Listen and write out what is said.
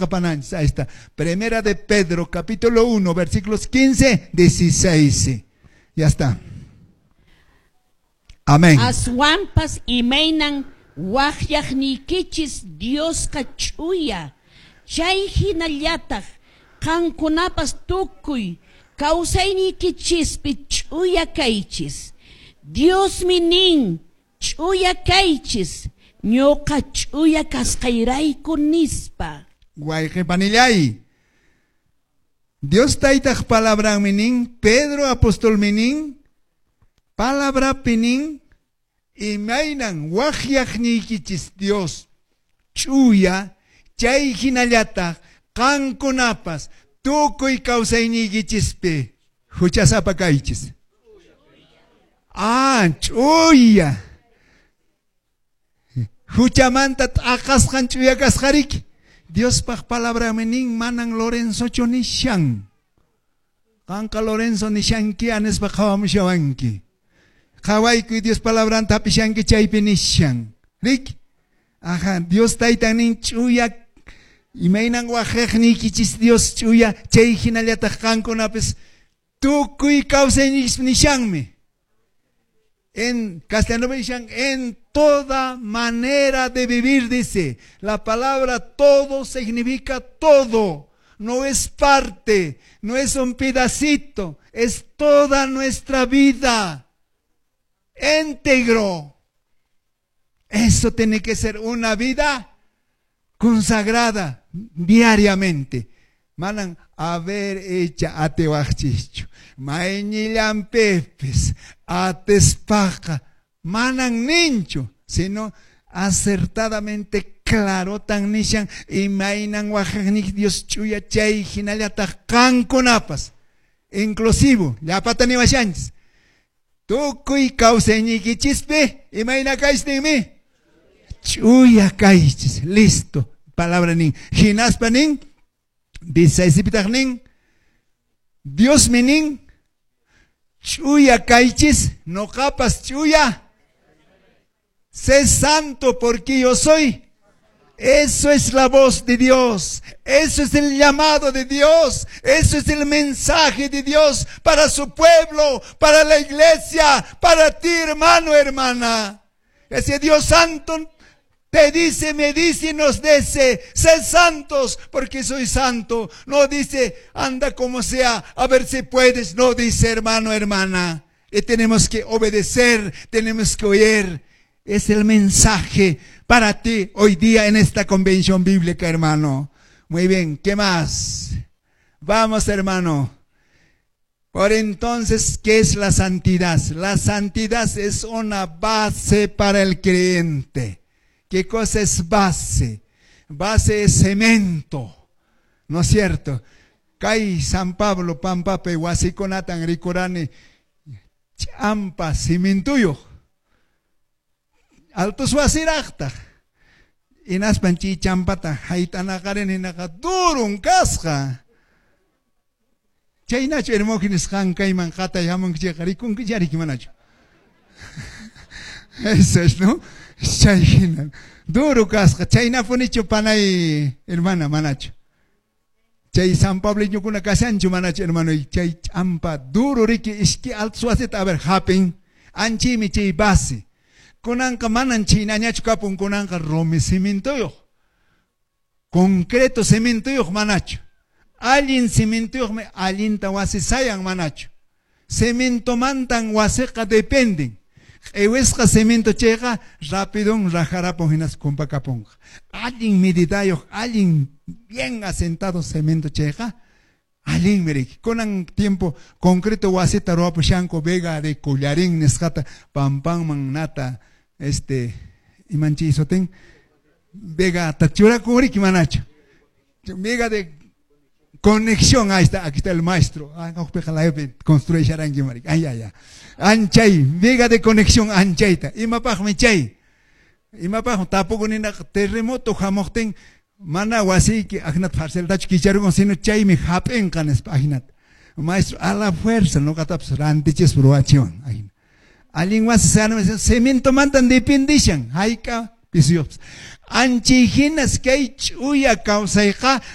Pananchis, ahí está. Primera de Pedro, capítulo 1, versículos 15, 16. Ya está. Amén. Aswanpas imaynan waqyaqniykichis Diosqa ch'uya, chay hinallataq qankunapas tukuy kawsayniykichispi ch'uya kaychis. Diosmi nin, Ch'uya kaychis, ñoqa ch'uya kasqayrayku, nispa. Wayqe panillay, Dios Taytaq palabranmi nin, Pedro apostolmi nin, palabrapi nin, imaynan waqyaqniykichis Dios ch'uya, chay hinallataq qankunapas tukuy kawsayniykichispi huchasapa kaychis. Ah, ch'uya. Huchamanta t'aqasqan ch'uya kasqariki. Diospaq palabranmi nin, manan Lorenzochu nishan. Qanqa Lorenzo nishanki, anispa qhawamushawanki. Qhawaykuy Dios palabranta hap'ishanki chaypi nishan. Riki? Aja, Dios Taytan nin ch'uya, imaynan waqyaqniykichis Dios ch'uya, chay hinallataq qankunapis tukuy kawsayniykichispi nishanmi. En castellano nishan, en toda manera de vivir, dice. La palabra todo significa todo. No es parte, no es un pedacito, es toda nuestra vida. Íntegro. Eso tiene que ser una vida consagrada diariamente. Manan haber hecha atiwaqchischu. Mayñillanpipis atispaqa manan ninchu, sino acertadamente clarotan nishan imaynan waqyaqniyki Dios ch'uya chay hinallataq qankunapas. Inclusivo, llapata niwashanchis. Tukuy kawsayniykichispi imayna kaychis ninmi? Ch'uya kaychis. Listo. Palabra nin. Hinaspa nin, 16pitaq nin, Diosmi nin, ch'uya kaychis, noqapas ch'uya. Sé santo porque yo soy. Eso es la voz de Dios. Eso es el llamado de Dios. Eso es el mensaje de Dios para su pueblo, para la iglesia, para ti, hermano, hermana. Ese Dios santo te dice, me dice y nos dice, sé santos porque soy santo. No dice, anda como sea, a ver si puedes. No dice, hermano, hermana. Y tenemos que obedecer, tenemos que oír. Es el mensaje para ti hoy día en esta convención bíblica, hermano. Muy bien, ¿qué más? Vamos, hermano. Por entonces, ¿qué es la santidad? La santidad es una base para el creyente. ¿Qué cosa es base? Base es cemento, ¿no es cierto? Kay San Pablo pampapi wasikunatan rikurani ch'ampa cimintuyuq. Altos wasiraqtaq. Hinaspan chay champata hayt'anaqarini hinaqa durun kasqa. Chaynachu Hermógenes qan kayman qatay hamunki chayqa rikunkichari riki manachu? Eso es, ¿no? Chay hina. Duro kasqa. Chaynapunichu panay hermana manachu? Chay San Pableñokuna kashanchu manachu hermano? Chay ch'ampa duro riki iski altos wasita a ver hapin. Anchimi chay base. Kunanqa manan chaynañachu kapun, kunanqa rumi cimintuyuq. Concreto cimintuyuq manachu. Allin cimintuyuqmi allinta wasi sayan manachu. Cementomantan wasiqa dependen. Q'iwisqa cemento chayqa rapidon rajarapun hinas kumpakapunqa. Allin medidayuq, allin bien asentado cemento chayqa allinmi riki. Kunan tiempo concreto wasita ruwapushanku viga de collarín nisqata pampanman nata este imanchi sutin viga ta churakun riki manachu. Viga de conexión, ahí está, aquí está el maestro. Ah, construye marica. Ay, ay, ay. Anchay, viga de conexión anchayta. Imapaqmi chay. Imapaq tapukunina terremoto hamuqtin mana wasiyki aknat parceltachu kicharukun sino chaymi hap'inqa nispa ajinata. Maestro, a la fuerza noqatapas rantichispa ruwachiwan ajina. Allin wasi cemento mantan dependishan hayk'a Pisiyuqpas. Anchay hinas kay ch'uya kawsayqa.